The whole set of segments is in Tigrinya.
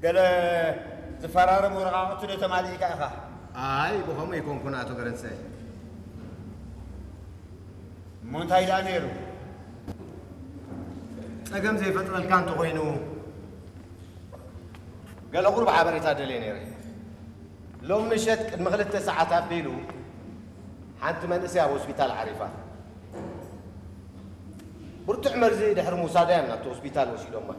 ገለ ዝፈራረም ወረቓቕቲ ዶ ተማሊእካ ኢኻ? ኣይ፣ ብኸምኡ ኣይኮንኩን ኣቶ ገረንሰ። እሞ እንታይ ደኣ ነይሩ? ጸገም ዘይፈጥረልካ እንተኾይኑ፣ ገለ ቁሩብ ሓበሬታ ደልየ ነይረ። ሎም ምሸት ቅድሚ ክልተ ሰዓት ኣቢሉ ሓንቲ መንእሰይ ኣብ ሆስፒታል ዓሪፋ። ብርቱዕ መርዚ ድሕሪ ምውሳዳ እዮም ናብቲ ሆስፒታል ወሲዶማ።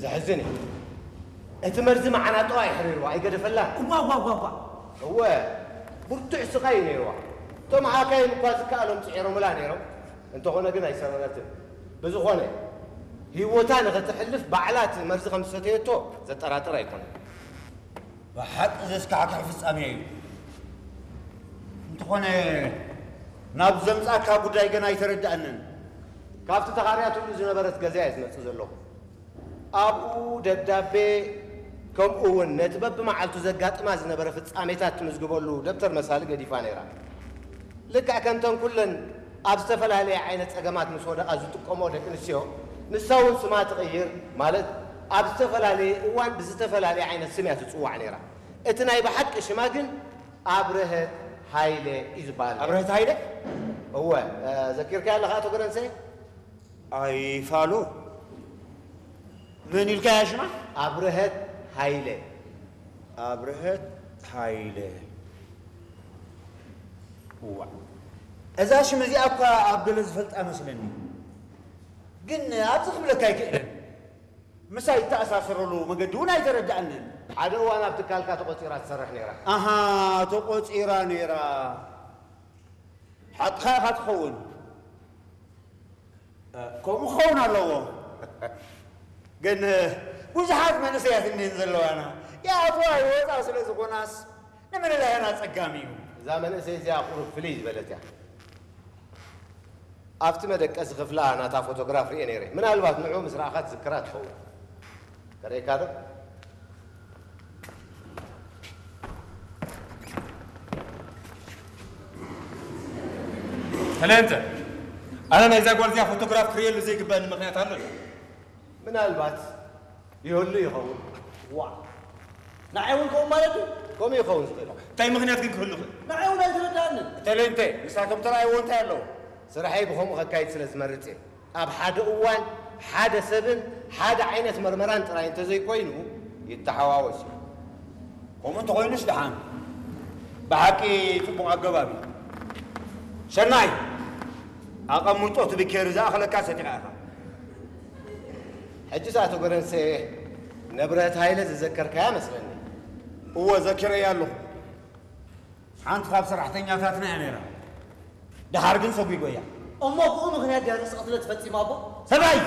ዘሕዝን እዩ። እቲ መርዚ መዓናጥዋ የሕሪርዋ፣ ኣይገደፈላን። እዋ፣ እዋ፣ እዋ፣ እዋ። እወ፣ ብርቱዕ ስቓይ እዩ ነይርዋ። እቶም ሓካይም እኳ ዝከኣሎም ጽዒሮምላ ነይሮም፣ እንተኾነ ግን ኣይሰረረትን። ብዝኾነ፣ ህይወታ ንኸተሕልፍ ባዕላ እቲ መርዚ ከም ዝሰተየቶ ዘጠራጥር ኣይኮነን። ብሓቂ ዘስካሕክሕ ፍጻሜ እዩ። እንተኾነ፣ ናብ ዘምጻካ ጉዳይ ገና ኣይተረዳእንን። ካብቲ ተኻርያትሉ ዝነበረት ገዛ እየ ዝመጽእ ዘለኹ። ኣብኡ ደብዳቤ፣ ከምኡ እውን ነቲ በብመዓልቱ ዘጋጥማ ዝነበረ ፍጻሜታት ትምዝግበሉ ደብተር መሳሊ ገዲፋ ነይራ። ልክዕ ከምተን ኩለን ኣብ ዝተፈላለየ ዓይነት ጸገማት ምስ ወደቓ ዝጥቀምኦ ደቂ ኣንስትዮ፣ ንሳ እውን ስማ ትቕይር፣ ማለት ኣብ ዝተፈላለየ እዋን ብዝተፈላለየ ዓይነት ስም እያ ትጽዋዕ ነይራ። እቲ ናይ ብሓቂ ሽማ ግን ኣብርሀት ሃይለ እዩ ዝበሃል ነይሩ። ኣብርሀት ሃይለ? እወ፣ እ፣ ዘኪርካያ ኣለኻ ኣቶ ገረንሰ? ኣይፋሉ። መን ኢልካያ ሽማ? ኣብርሀት ሃይለ። ኣብርሀት ሃይለ። እዋ፣ እዛ ሽም እዚኣ እኳ ኣብ ገለ ዝፈልጣ መስለኒ። ግን ኣብዚ ክብለካ ኣይክእልን። ምሳይ እተኣሳሰረሉ መገዲ እውን ኣይተረድኣንን። ሓደ እዋን ኣብ ትካልካ ተቖጺራ ትሰርሕ ነይራ። ኣሃ፣ ተቖጺራ ነይራ። ሓቅኻ ኢኻ ትኸውን። እ፣ ከምኡ ክኸውን ኣለዎ። ግን፣ እ፣ ብዙሓት መንእሰያት እኒህን ዘለዋና። ይኣትዋ ይወፃ ስለ ዝኾናስ ንምልላየን ኣጸጋሚ እዩ። እዛ መንእሰይ እዚኣ ቁሩብ ፍልይ ዝበለት እያ። ኣብቲ መደቀሲ ክፍላ ናታ ፎቶግራፍ ርእየ ነይረ። ምናልባት ንዑ ምስ ረኣኻ ትዝክራ ትኸውን። ከርእየካ ዶ? ተለንተ፣ ኣነ ናይዛ ጓል እዚኣ ፎቶግራፍ ክርእየሉ ዘይግበኣኒ ምኽንያት ኣሎ ድዩ? ምናልባት ይህሉ ይኸውን። ዋ፣ ንዓይ እውን ከምኡ ማለት እዩ? ከምኡ ይኸውን ዝኽእል። እንታይ ምኽንያት ግን ክህሉ ይኽእል? ንዓይ እውን ኣይተረድኣንን። ተለንተ፣ ንሳቶም ተራእይዎ እንታይ ኣለዎ? ስርሐይ ብኸምኡ ከካይድ ስለ ዝመርጽ እየ። ኣብ ሓደ እዋን ሓደ ሰብን ሓደ ዓይነት መርመራን ጥራይ እንተዘይኮይኑ ይተሓዋወስ እዩ። ከምኡ እንተኾይኑስ ደሓን። ብሓቂ ጽቡቕ ኣገባብ እዩ። ሰናይ፣ ኣቐምጦ እቲ ብኬሪ ዝኣኸለካ ሰቲኻ ኢኻ። ሕጂስ ኣቶ ገረንሰ፣ ነብረት ሃይለ ዝዘከርካያ መስለኒ። እወ፣ ዘኪረያ ኣለኹ። ሓንቲ ካብ ሰራሕተኛታትና እያ ነይራ። ደሓር ግን ሰጒጎያ። እሞ ብኡ ምኽንያት ድያ ርእሲ ቅትለት ፈጺማ ኣቦ? ሰብኣይ!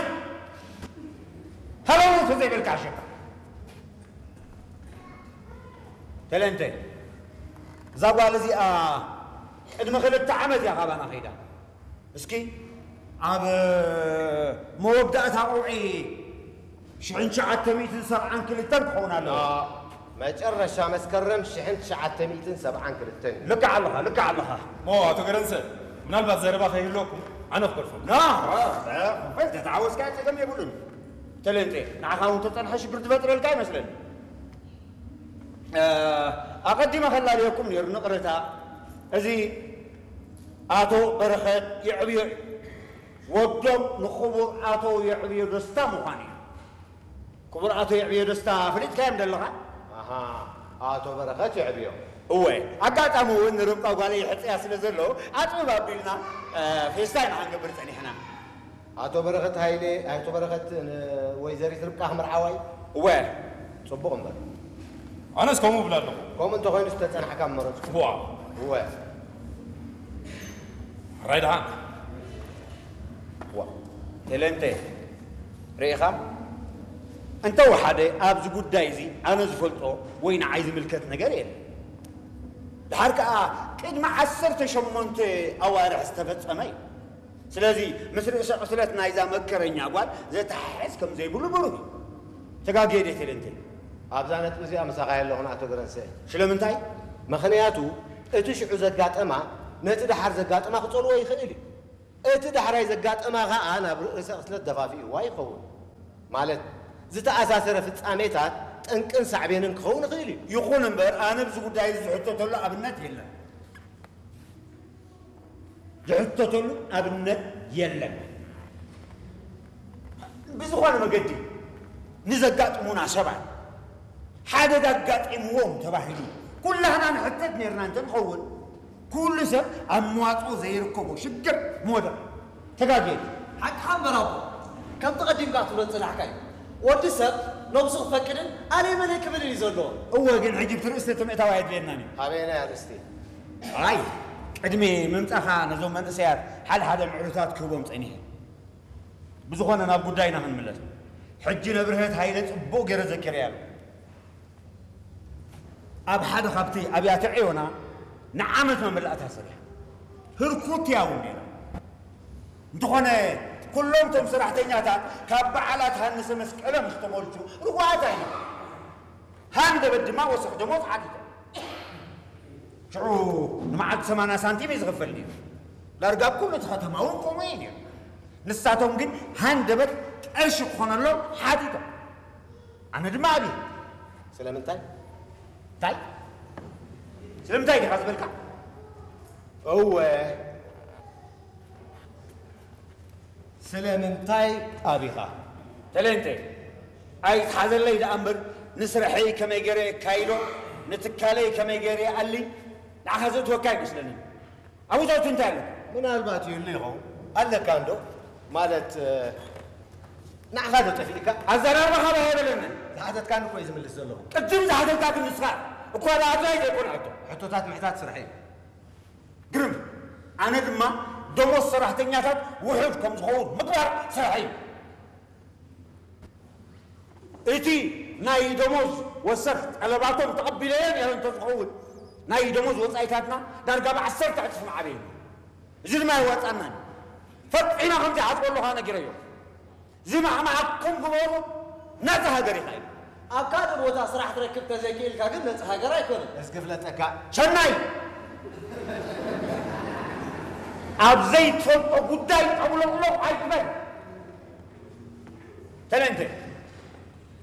ሃለዉ ተዘይበልካ ኣሸካ። ተለንተ፣ እዛ ጓል እዚኣ ቅድሚ ክልተ ዓመት እያ ካባና ከይዳ። እስኪ ኣብ መወዳእታ ቀውዒ ሽሕን ትሽዓተ ሚእትን ሰብዓን ክልተን ክኸውን ኣለዎ። ኖ፣ መጨረሻ መስከረም ሽሕን ትሽዓተ ሚእትን ሰብዓን ክልተን እዩ። ልክዕ ኣለኻ፣ ልክዕ ኣለኻ። ሞ ኣቶ ገረንሰ፣ ምናልባት ዘረባ ከይህልወኩም ኣነ ክገድፈኩም። ኖ፣ ኖ፣ ኖ፣ እንተተሓወስካ ጸገም የብሉን። ተለንተ፣ ንዓኻ እውን ተጸንሐ ሽግር ዝፈጥረልካ ይመስለኒ። እ፣ ኣቐዲመ ከላልየኩም ነይሩ፣ ንቕረታ። እዚ ኣቶ በረኸት የዕብዮ እዩ። ወዶም ንኽቡር ኣቶ የዕብዮ ደስታ ምዃኑ እዩ። ክቡር ኣቶ የዕብዮ ደስታ ፈሊጥካዮም ደለኻ? ኣሃ፣ ኣቶ በረኸት የዕብዮ። እወ፣ ኣጋጣሚ እውን ንርብቃ ጓለይ ይሕጽያ ስለ ዘሎ፣ ኣጽብብ ኣቢልና፣ እ፣ ፌስታ ኢና ክንገብር ጸኒሕና። ኣቶ በረኸት ሃይለ፣ ኣቶ በረኸት ንወይዘሪት ርብቃ ክምርዓዋ እዩ? እወ። ጽቡቕ እምበር። ኣነስ ከምኡ እብል ኣለኹ። ከምኡ እንተኾይኑ ዝተጸናሕካ ምመረጽኩ። እዋ። እወ። ሕራይ ደሓን። እዋ። ቴሌንቴ፣ ርኢኻ? እንተ ወሓደ ኣብዚ ጉዳይ እዚ ኣነ ዝፈልጦ ወይ ንዓይ ዝምልከት ነገር የለን። ደሓር ከኣ ቅድሚ ዓሰርተ ሸሞንተ ኣዋርሕ ዝተፈጸመ እዩ። ስለዚ ምስ ርእሰ ቅትለት ናይዛ መከረኛ ጓል ዘተሓሕዝ ከም ዘይብሉ ብሩህ እዩ። ተጋግየ ድየ ቴሌንቴ? ኣብዛ ነጥቢ እዚኣ ምሳኻ የለኹን ኣቶ ገረንሰ። ስለምንታይ? ምኽንያቱ እቲ ሽዑ ዘጋጠማ ነቲ ደሓር ዘጋጠማ ክጸልዎ ይኽእል እዩ። እቲ ዳሕራይ ዘጋጠማ ኸኣ ናብ ርእሰ ቅትለት ደፋፊእዋ ይኸውን። ማለት ዝተኣሳሰረ ፍጻሜታት ጠንቅን ሳዕቤንን ክኸውን ይኽእል እዩ። ይኹን እምበር፣ ኣነ ኣብዚ ጉዳይ እዚ ዝሕተተሉ ኣብነት የለን። ዝሕተተሉ ኣብነት የለን። ብዝኾነ መገዲ ንዘጋጥሙና ሰባት ሓደጋ ኣጋጢምዎም ተባሂሉ ኩላህና ንሕተት ነርና እንተንኸውን፣ ኩሉ ሰብ ኣብ መዋፅኦ ዘይርከቦ ሽግር ምወደቐ። ተጋግየ። ሓቅኻ እምበር ኣቦ፣ ከምቲ ቀዲምካ ትብሎ ዝጸናሕካዮ፣ ወዲ ሰብ ነብሱ ክፈቅድን ኣለይ መለይ ክብልን እዩ ዘለዎ። እወ፣ ግን ሕጂ ብቲ ርእስቲ እቲ ምእታው ኣየድልየናን እዩ። ኣበየናይ ኣርእስቲ? ኣይ፣ ቅድሚ ምምጻኻ ነዞም መንእሰያት ሓደ ሓደ ምዕሩታት ክህቦም ጸኒሐ። ብዝኾነ ናብ ጉዳይና ክንምለስ። ሕጂ ነብርሀት ሃይለ ጽቡቕ ገይረ ዘኪረያ ኣለኹ። ኣብ ሓደ ካብቲ ኣብያተ ዕዮና ንዓመት መመላእታ ሰሪሓ። ህርኩት እያ እውን ነይራ። እንተኾነ፣ ኩሎም እቶም ሰራሕተኛታት ካብ በዓላት ሃንሰ መስቀሎም ዝተመልሱ ርጉኣት ኣይነበሩ። ሃንደበት ድማ ወሰኽ ደሞዝ ሓቲቶም። ሽዑ ንመዓልቲ ሰማንያ ሳንቲም እዩ ዝኽፈል ነይሩ። ዳርጋ ኣብ ኩሉ እቲ ከተማ እውን ከምኡ እዩ ነይሩ። ንሳቶም ግን ሃንደበት ቀርሺ ክኾነሎም ሓቲቶም። ኣነ ድማ ኣብየ። ስለምንታይ? እንታይ? ስለምንታይ ዲኻ ዝበልካ? እወ። ስለምንታይ ኣቢኻ? ተለንተ፣ ኣይትሓዘለይ ደኣ እምበር፣ ንስርሐይ ከመይ ገይረ የካይዶ፣ ንትካለይ ከመይ ገይረ ይኣሊ፣ ንዓኻ ዘእትወካ ኣይመስለንን። ኣብኡ ዘእቱ እንታይ ኣሎ? ምናልባት ይህሉ ይኸውን። ኣለካ እንዶ? ማለት፣ እ፣ ንዓኻ ዶ ጠፊእካ? ኣዘራርባኻ ባህ ኣይበለንን። ዝሓተትካኒ እኮ እዩ ዝምልስ ዘለኹ። ቅድም ዝሓተትካ ግን ንስኻ እኳ ብኣድላይ ዘይኮነ ሕቶ። ሕቶታት ምሕታት ስርሐይ እዩ። ግርም። ኣነ ድማ ደሞዝ ሰራሕተኛታት ውሑድ ከም ዝኸውን ምግባር ስርሐይ እዩ። እቲ ናይ ደሞዝ ወሰኽ ጠለባቶም ተቐቢለዮ ነይረ እንተዝኸውን፣ ናይ ደሞዝ ወጻኢታትና ዳርጋ ብዓሰርተ ዕጽፊ ምዓበየ ነይሩ። እዚ ድማ የዋጻናን እዩ። ፈጺመ ከም ዘይሓስበሉ ከኣ ነጊረዮ። ዝማዕማዓኩም ግበሩ፣ ነጻ ሃገር ኢኻ ኢሉ። ኣብ ካልእ ቦታ ስራሕ ትረክብ ተዘይክእልካ ግን ነጻ ሃገር ኣይኮነን። እስኪ ፍለጠካ። ሰናይ! ኣብ ዘይትፈልጦ ጉዳይ ጠብሎቕሎቕ ኣይትበል። ተለንተ፣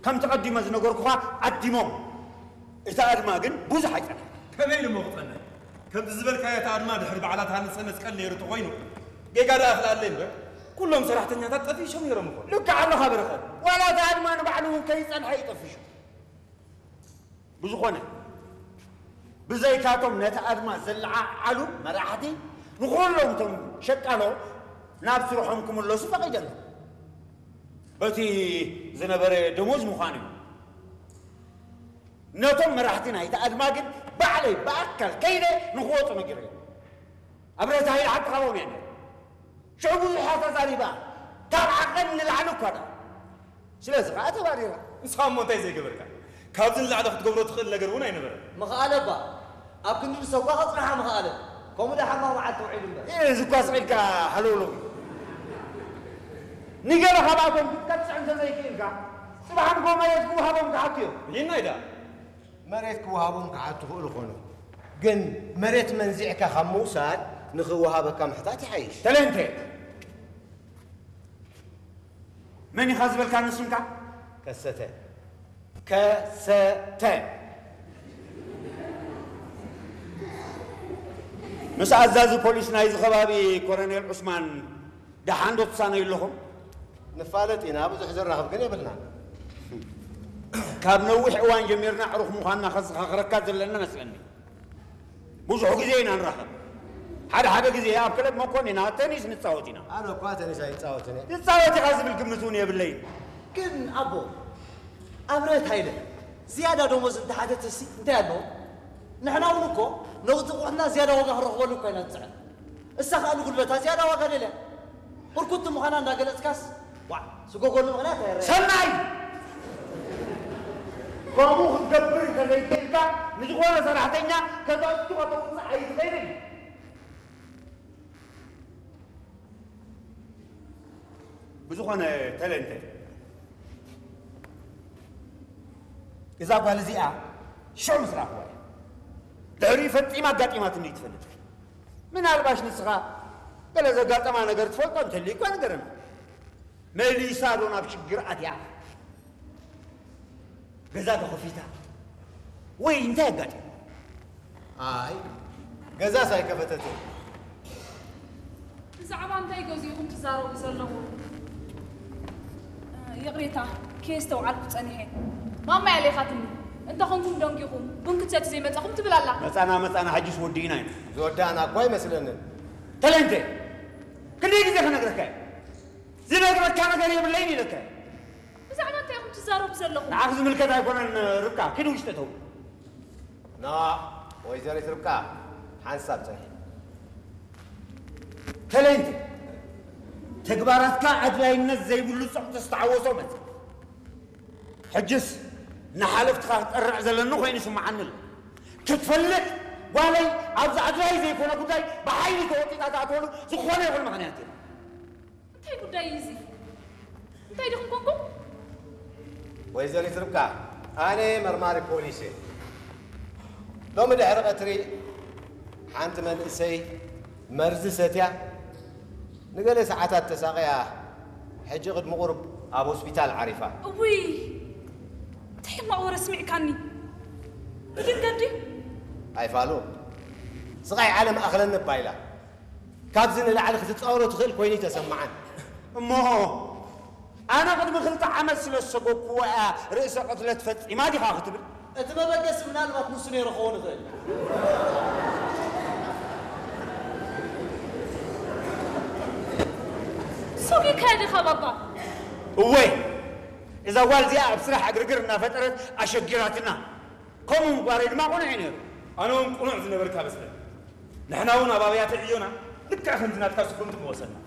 ከምቲ ቀዲመ ዝነገርኩኻ ኣዲሞም። እታ ኣድማ ግን ብዙሕ ኣይጸንሐን። ከመይ ኢሉ እሞ ክጸንሕ? ከምቲ ዝበልካዮ እታ ኣድማ ድሕሪ በዓላት ሃንሰ መስቀል ነይሩ ተኾይኑ፣ ጌጋ ደኣ ክልኣለይ እምበር፣ ኩሎም ሰራሕተኛታት ጠፊሾም ነይሮም እኮ። ልክዕ ኣለኻ በረኸት። ዋላ እታ ኣድማ ንባዕሉ እውን ከይጸንሐ እዩ ጠፊሹ። ብዝኾነ፣ ብዘይካቶም ነቲ ኣድማ ዘለዓዓሉ መራሕቲ፣ ንኹሎም እቶም ሸቃሎ ናብ ስርሖም ክምለሱ ፈቒደሎም። በቲ ዝነበረ ደሞዝ ምዃኑ እዩ። ነቶም መራሕቲ ናይቲ ኣድማ ግን ባዕለይ ብኣካል ከይደ ንኽወጹ ነጊረዮም። ኣብረታ ሃይለ ሓቂ ካባኦም እያ ነይራ። ሽዑ ብዙሕ እያ ተዛሪባ። ካብ ዓቐን ንላዕሊ እኳ ደኣ። ስለዚ ኸኣ ተባሪራ። ንስኻ እሞ እንታይ ዘይገበርካ? ካብዚ ንላዕሊ ክትገብሮ ትኽእል ነገር እውን ኣይነበረን። ምኽኣለ እባ ኣብ ክንዲ ንሰጓ ከጽንሓ ምኽኣለ። ከምኡ ደኣ ሓማቕ መዓልቲ ውዒሉ እምበር። እዚ እኳ ስቕ ኢልካ ሃለውለው። ንገለ ካብኣቶም ክትቀጽዕ እንተዘይክኢልካ፣ ጽባሕ ንግሆ መሬት ክወሃቦም ክሓቱ እዮም። ይናይ ደኣ። መሬት ክወሃቦም ክሓቱ ክእሉ ኾኑ። ግን መሬት መንዚዕካ ካብ ምውሳድ ንኽወሃበካ ምሕታት ይሓይሽ። ተለንተ። መን ኢኻ ዝበልካኒ ስምካ? ከሰተ። ከሰተ። ምስ ኣዛዚ ፖሊስ ናይዚ ከባቢ ኮረኔል ዑስማን ደሓን ዶ ትሳነዩ ኣለኹም? ንፋለጥ ኢና፣ ብዙሕ ዘራኽብ ግን የብልናን። ካብ ነዊሕ እዋን ጀሚርና ኣዕሩኽ ምዃንና ከዘኻኽረካ ዘለና መስለኒ። ብዙሕ ግዜ ኢና ንራኸብ። ሓደ ሓደ ግዜ ኣብ ክለብ መኮንና ቴኒስ ንጻወት ኢና። ኣነ እኳ ቴኒስ ኣይጻወትን እየ። ትጻወት ኢኻ ዝብል ግምት እውን የብለይን። ግን ኣቦ፣ ኣብረት ሃይለ ዝያዳ ደሞዝ እንተሓተተሲ እንታይ ኣለዎ? ንሕና እውን እኮ ነቲ ኣቑሑትና ዝያዳ ዋጋ ክንረኽበሉ እኮ ኢና ንጽዕር። እሳ ኸኣ ንጉልበታ ዝያዳ ዋጋ ደልያ። ህርኩት ምዃና እንዳገለጽካስ፣ ዋዕ፣ ስጎጎሉ ምኽንያት ኣይረኣን። ሰናይ! ከምኡ ክትገብር እንተዘይክእልካ፣ ንዝኾነ ሰራሕተኛ ከተእቱ ከተውጽእ ኣይትኽእልን። ብዝኾነ ተለንተ፣ እዛ ጓል እዚኣ ሽዑ ምስ ረኣኽዋ እየ። ድሕሪኡ ፈጺማ ኣጋጢማትኒ ትፈልጥ። ምናልባሽ ንስኻ ገለ ዘጋጠማ ነገር ትፈልጦ እንተልዩ እኳ ንገረና። መሊሳ ዶ ናብ ሽግር ኣትያ? ገዛ ተኸፊታ ወይ እንታይ ኣጋጢሙ? ኣይ፣ ገዛስ ኣይከፈተትን። ብዛዕባ እንታይ ገዚእኹም ትዛረቡ ዘለኹም? ይቕሬታ፣ ከየስተውዓልኩ ጸኒሐ። ማማ ያሌኻትኒ። እንተኾንኩም ደንጊኹም ቡን ክትሰቲ ዘይመጻኹም ትብል ኣላ። መጻና መጻና፣ ሕጅስ ወዲእና ኢና። ዝወዳእና እኳ ኣይመስለንን። ተለንተ፣ ክንደይ ግዜ ክነግረካ እየ? ዝነግረካ ነገር የብለይን ኢለካ እየ። ብዛዕባ እንታይ ኢኹም ትዛረቡ ዘለኹም? ንዓኺ ዝምልከት ኣይኮነን ርብቃ፣ ኪዲ ውሽጢ እተው። ና ወይዘሪት ርብቃ ሓንሳብ ፅንሒ። ተለይንቲ ተግባራትካ ኣድላይነት ዘይብሉ ጸቕጢ ዝተዓወሶ መጽ ሕጅስ ንሓለፍትኻ ክጠርዕ ዘለኒ ኮይኑ ይስምዓኒ ኣሎ። ክትፈልጥ ጓለይ ኣብዚ ኣድላይ ዘይኮነ ጉዳይ ብሓይሊ ተወጢጣ ትኣትወሉ ዝኾነ ይኹን ምኽንያት የለን። እንታይ ጉዳይ እዩ እዚ? እንታይ ዲኹም ኮንኩም? ወይዘሪት ርብቃ፣ ኣነ መርማሪ ፖሊስ እየ። ሎሚ ድሕሪ ቀትሪ ሓንቲ መንእሰይ መርዚ ሰትያ ንገለ ሰዓታት ተሳቕያ ሕጂ ቅድሚ ቁሩብ ኣብ ሆስፒታል ዓሪፋ። እውይ፣ እንታይ ሕማቕ ወረ ስሚዕካኒ። ብድንገት ድዩ? ኣይፋሉ፣ ስቓይ ዓለም ኣኽለኒ እባ ኢላ። ካብዚ ንላዕሊ ክትጻወሮ ትኽእል ኮይኑ ይተሰምዓን። እሞ ኣነ ቅድሚ ክልተ ዓመት ስለ ዝሰጎግኩዎ እያ ርእሰ ቅትለት ፈጺማ ዲኻ ክትብል? እቲ መበገሲ ምናልባት ንሱ ነይሩ ክኸውን ይኽእል። ሰጒግካያ ዲኻ ባባ? እወ፣ እዛ ጓል እዚኣ ኣብ ስራሕ ዕግርግር እናፈጠረት ኣሸጊራትና። ከምኡ ምግባረይ ድማ ቅኑዕ እዩ ነይሩ። ኣነ እውን ቅኑዕ ዝነበርካ መስለኒ። ንሕና እውን ኣብ ኣብያተ ዕዮና ልክዕ ከምዚ ናትካ ስጉምቲ ምወሰድና።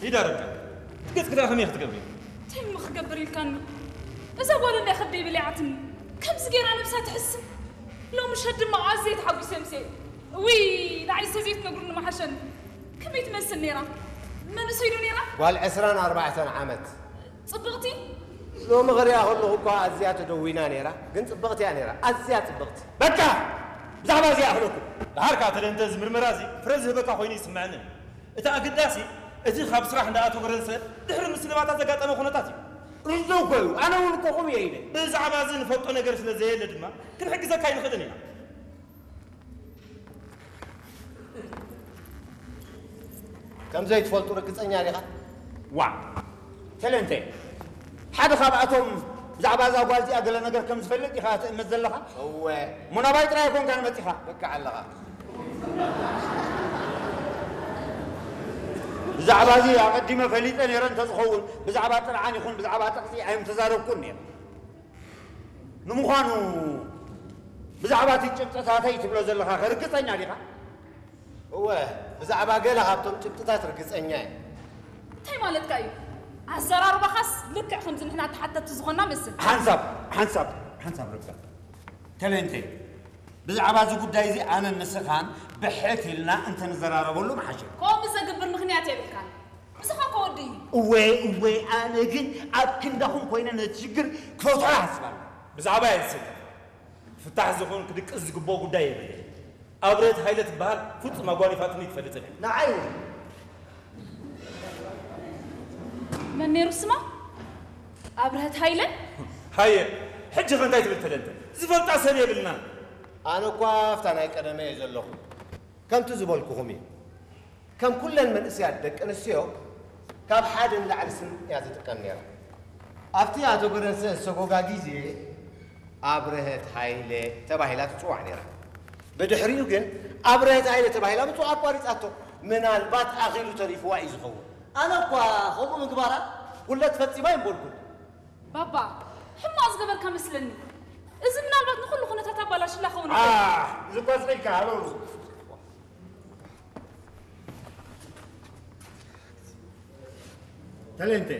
ሂዳ ርብቃ፣ እቲ ገጽኪ ደኣ ከመይ ክትገብሪ? እንታይ እሞ ክገብር ኢልካኒ? እዛ ጓል እንድያ ከብደይ በሊዓትኒ። ከምዚ ገይራ ነብሳ ትሕስም። ሎሚ ምሸት ድማ ኣዝየ ተሓጒሰ ምሴ። እውይ፣ ንዓይሰ ዘይትነግሩኒ ምሓሸኒ። ከመይ ትመስል ነይራ? መንእሰይ ዶ ነይራ? ጓል ዕስራን ኣርባዕተን ዓመት። ጽብቕቲ? ሎሚ ክሪኣ ከለኹ እኳ ኣዝያ ተደዊና ነይራ፣ ግን ጽብቕቲ እያ ነይራ፣ ኣዝያ ጽብቕቲ። በቃ! ብዛዕባ እዚኣ ኣኽለኩም። ደሓር ከኣ ተደንተ እዚ ምርመራ እዚ ፍረ ዝህበካ ኮይኑ ይስምዐኒ። እቲ ኣገዳሲ፣ እቲ ካብ ስራሕ እንዳኣተወ ጎረንሰ ድሕሪ ምስልባታ ዘጋጠመ ኩነታት እዩ። ርዙ እኮ እዩ፣ ኣነ እውን እኮ ከምኡ እየ ኢለ። ብዛዕባ እዚ ንፈልጦ ነገር ስለ ዘየለ ድማ ክንሕግዘካ ኣይንኽእልን ኢና። ከም ዘይትፈልጡ ርግጸኛ ዲኻ? ዋእ! ተለንተ፣ ሓደ ካብኣቶም ብዛዕባ እዛ ጓል እዚኣ ገለ ነገር ከም ዝፈልጥ ኢኻ ትእምት ዘለኻ? እወ። እሞ ናባይ ጥራይ ኣይኮንካን መጺኻ? ልክዕ ኣለኻ። ብዛዕባ እዚ ኣቐዲመ ፈሊጠ ነይረ እንተዝኸውን፣ ብዛዕባ ጥርዓን ይኹን ብዛዕባ ጠቕሲ ኣይምተዛረብኩን ነይረ። ንምዃኑ ብዛዕባ እቲ ጭብጥታተይ ትብሎ ዘለኻ ከ ርግጸኛ ዲኻ? እወ፣ ብዛዕባ ገለ ካብቶም ጭብጥታት ርግጸኛ እየ። እንታይ ማለትካ እዩ? ኣዘራርባኻስ ልክዕ ከምዚ ንሕና ተሓተትቲ ዝኾንና መስል። ሓንሳብ፣ ሓንሳብ፣ ሓንሳብ ርብቃ። ተለንተ፣ ብዛዕባ እዚ ጉዳይ እዚ ኣነን ንስኻን ብሕት ኢልና እንተንዘራረበሉ ምሓሸ። ከምኡ ዘግብር ምኽንያት የብልካን። ንስኻ እኮ ወዲ እዩ። እወ እወ፣ ኣነ ግን ኣብ ክንዳኹም ኮይነ ነቲ ሽግር ክፈትሖ ይሓስብ ኣለኹ። ብዛዕባይ ኣይትስከፍ። ክፍታሕ ዝኹን ክድቅስ ዝግብኦ ጉዳይ የብለይን። ኣብርሀት ሃይለ ትበሃል ፍጹም ኣጓኒፋትኒ ኣይትፈልጥን እያ። ንዓይ እውን። መን ነይሩ ስማ? ኣብርሀት ሃይለ? ሃየ፣ ሕጂ ኸ እንታይ ትብል ተደንተ? ዝፈልጣ ሰብ የብልናን። ኣነ እኳ ኣብታ ናይ ቀደመ እየ ዘለኹ። ከምቲ ዝበልኩኹም እዩ። ከም ኩለን መንእሰያት ደቂ ኣንስትዮ ካብ ሓደ ንላዕሊ ስኒ እያ ትጥቀም ነይራ። ኣብቲ ኣቶ ገረንሰ ዝሰጎጋ ግዜ ኣብርሀት ሃይለ ተባሂላ ትጽዋዕ ነይራ። ብድሕሪኡ ግን ኣብርሀት ሃይለ ተባሂላ ምጽዋዕ ኣቋሪጻቶ። ምናልባት ኣኺሉ ተሪፍዋ እዩ ዝኸውን። ኣነ እኳ ከምኡ ምግባራ ጉድለት ፈጺማ ኣይምበልኩን። ባባ፣ ሕማቕ ዝገበርካ መስለኒ። እዚ ምናልባት ንኹሉ ኩነታት ኣባላሽላ ክኸውን ይኽእል። ኣህ፣ እዚ ቆጽሪካ ሃበው። ተሌንቴ፣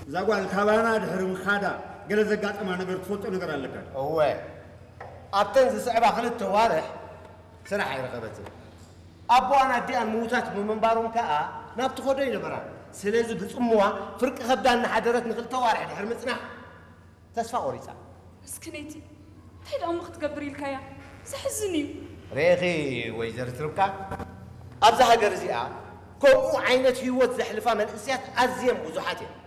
እዛ ጓል ካባና ድሕሪ ምኻዳ ገለ ዘጋጠማ ነገር ትፈልጦ ነገር ኣለካ ድዩ? እወ፣ ኣብተን ዝስዕባ ክልተ ዋርሕ ስራሕ ኣይረኸበትን። ኣቦኣን ኣዲኣን ምዉታት ብምንባሮም ከኣ ናብ ትኸዶ ኣይነበራን። ስለዚ ብጽምዋ ፍርቂ ከብዳ እናሓደረት ንኽልተ ዋርሕ ድሕሪ ምጽናሕ ተስፋ ቆሪጻ። ምስክነይቲ፣ እንታይ ደኣ እሞ ክትገብር ኢልካያ? ዘሕዝን እዩ። ርኢኺ ወይዘሪት ርብቃ፣ ኣብዛ ሃገር እዚኣ ከምኡ ዓይነት ህይወት ዘሕልፋ መንእሰያት ኣዝየን ብዙሓት እየን።